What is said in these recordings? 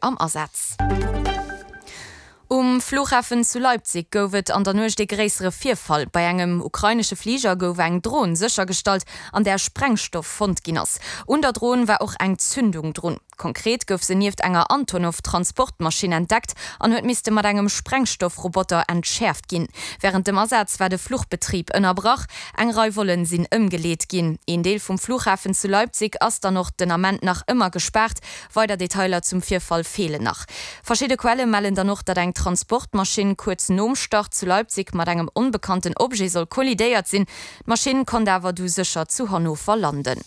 Am Asaz. Um Flughafen zu Leipzig gouf et an der Nuecht ee gréissere Virfall. Bei engem ukrainesche Fliger gouf eng Dron séchergestallt, an där Sprengstoff fonnt ginn ass. Un der Dron war och eng Zündung drun. Konkret gouf se nieft enger Antonov-Transportmaschinn entdeckt an huet misste mat engem Sprengstoffroboter entschäerft ginn. Wärend dem Asaz war de Fluchbetrib ënnerbrach. Eng Rei Vollen sinn ëmgeleet ginn. Een Deel vum Flughafen zu Leipzig ass dann och den Ament nach ëmmer gespaart. Weider Detailer zum Virfall feelen nach. Verschidde Quelle mellen dann och, datt eng Transportmaschinn kuerz nom Start zu Leipzig mat engem onbekannten Objet soll kollidéiert sinn. D'Maschinn konnt awer du sécher zu Hannover landen.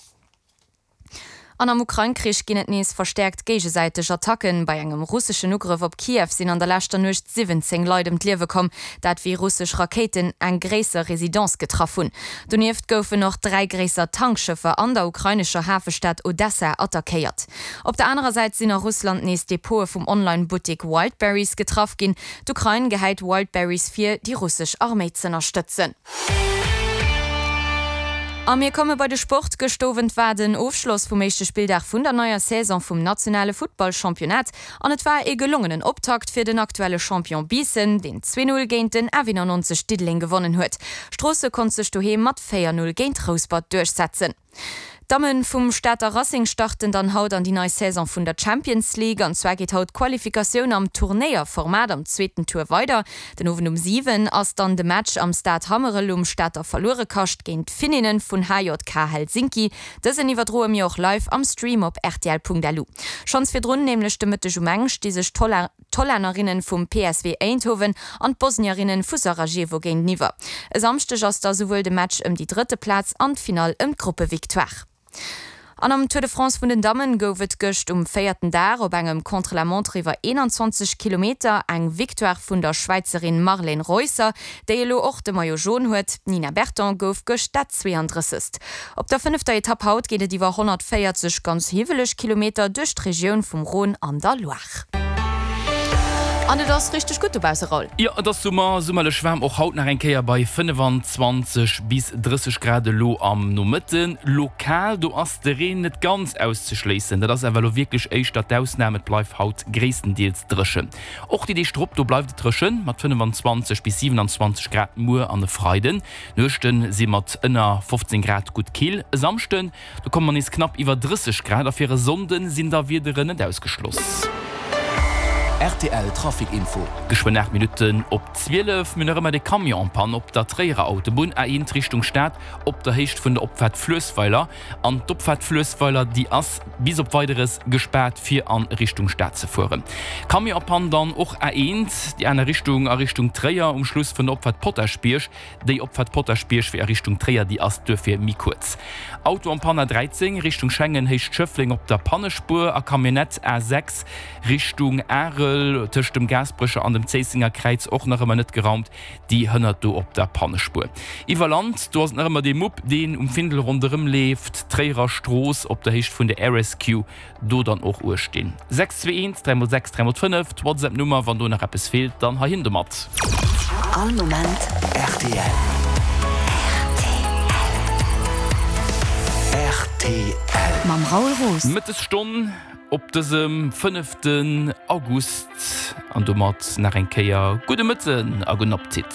An am Ukrain-Krich ginn et nees verstäerkt géigesäiteg Attacken. Bei engem russeschen Ugrëff op Kiew sinn an der leschter Nuecht 17 Leit ëm d'Liewe komm, dat wéi russesch Rakéiten eng gréisser Residence getraff hunn. Donieft goufen och 3 gréisser Tankschëffer an der ukrainescher Hafestad Odessa attackéiert. Op der anerer Säit sinn a Russland nees Depote vum Online-Buttek Wildberries getraff ginn. D'Ukrain gehäit Wildberries vir, déi russesch Arméi z'ënnerstëtzen. A mir komme bei de Sport. Gëscht Owend war den Ofschloss vum éischte Spilldag vun der neier Saison vum nationale Futtballchampionnat. An et war ee gelongenen Optakt fir den aktuelle Champion Biissen, deen 2, 0 géint den F91 Diddeleng gewonnen huet. Stroosse konnt sech doheem mat 4, 0 géint Rouspert duerchsetzen. D'Damme vum Stater Racing starten dann haut an déi nei Saison vun der Champions League. An zwar geet haut d'Qualifikatioun am Turnéierformat am zweeten Tour weider. Den Owend um 7 ass dann de Match am Stade Hammerel um Stater Verluerekascht géint d'Finninnen vun HJK Helsinki. Dësen iwwerdroe mir och live am Stream op rtl.lu. Schonns virdrun, nämlech de Mëtteg um eng, sti sech d'Hollännerinnen vum PSV Eindhoven an d'Bosnierinnen vu Sarajevo géinteniwwer. E Samschdeg ass da souwuel de Match ëm déi drëtte Plaz an d'Finall ëm d'Gruppevictoire. An am Tour de France vun den Dammen gouf et gëscht um véierten Dag op engem Contre-la-montre iwwer 21 Kilometer eng Victoire vun der Schwäizerin Marlene Reusser, déi elo och de Maillot jaune huet. D'Nina Berton gouf gëscht dat 32. Op der fënnefter Etapp haut geet et iwwer 140 ganz hiwweleg Kilometer duerch d'Regioun vum Rhône an der Loire. An et ass richteg gutt dobausse, Raoul. Jo, et ass Summer, summerlech waarm och haut nach eng Kéier bei 25 bis 30 Grad elo am Nomëtten. Lokal, do ass de Reen net ganz auszeschléissen, dat ass awer elo wierklech éischter d'Ausnam, et bleift haut gréisstendeels dréchen. Och déi Deeg drop, do bleift et dréchen mat 25 bis 27 Grad muer an e Freiden. D'Nuechte si mat ënner 15 Grad gutt kill. E Samschden, Do komme mer nees knapp iwwer 30 Grad a fir e Sonnde sinn da Wiederen net ausgeschloss. Rtl Trafic Info. Geschwënn 8 Minutten op 12. Mir hunn nach ëmmer de Camion en panne op der Tréierer Autobunn, A1 Richtung Stad, op der Héicht vun der Opfaart Fluessweiler. An d'Opfaart Fluessweiler, déi ass bis op Weideres gespaart fir a Richtung Stad ze fueren. Camion en panne dann och A1 déi aner Richtung, a Richtung Tréier, um Schluss vun der Opfaart Potaschbierg. Déi Opfahrt Potaschbierg fir a Richtung Tréier, déi ass duerfir méi kuerz. Auto en panne A 13 Richtung Schengen, Héicht Schëffleng op der Pannespuer a Camionnette A 6 Richtung Arel tëscht dem Gaasperecher an dem Zéissenger Kräiz och nach ëmmer net geraumt, déi hënnert do op der Pannespuer. Iwwer Land, do ass et nach ëmmer dee Mupp, deen um Findel ronderëm leeft, Tréierer Strooss op der Héicht vun der RSQ. Do dann och uecht dinn. 6 2 1 3 mol 6 3 mol 5, d'Whatsapp Nummer, wann do nach eppes feelt, dann heihin domat. All Moment rtl. Rtl. Mam Raoul Roos. Mëttesstonn op dësem fënneften August an domat nach eng Kéier gudde Mëtten a gudden Appetit.